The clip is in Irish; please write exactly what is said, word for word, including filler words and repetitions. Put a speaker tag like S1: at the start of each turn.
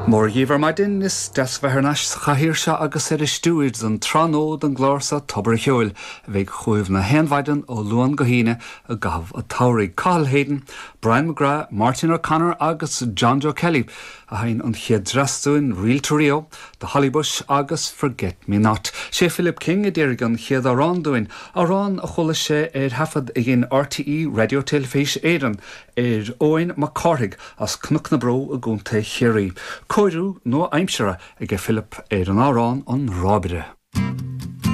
S1: Mora dhíbh ar maidin is deas bheith thar n-ais sa chathaoir seo agus ar an stiúir don tráthnó den gclár seo Tobar an Cheoil a bheidh chugaibh na haon mhaidin ó Luan go hAoine i gcaitheamh an tsamhraidh. Cathal Hayden, Brian McGrath, Martin O'Connor agus John Joe Kelly a sheinn an chéad dreas dúinn Reel to Rio, The Holly Bush agus Forget Me Not. Sé Philip King a d'iarr an chéad amhrán dúinn, amhrán a chuala sé ar thaifead a dhein RTÉ Raidió Teilifís Éireann ar Eoin Mac Cárthaigh as Cnoc na Bró i gContae Chiarraí. Cóiriú nua-aimseartha ag Philip ar an amhrán an Rábaire.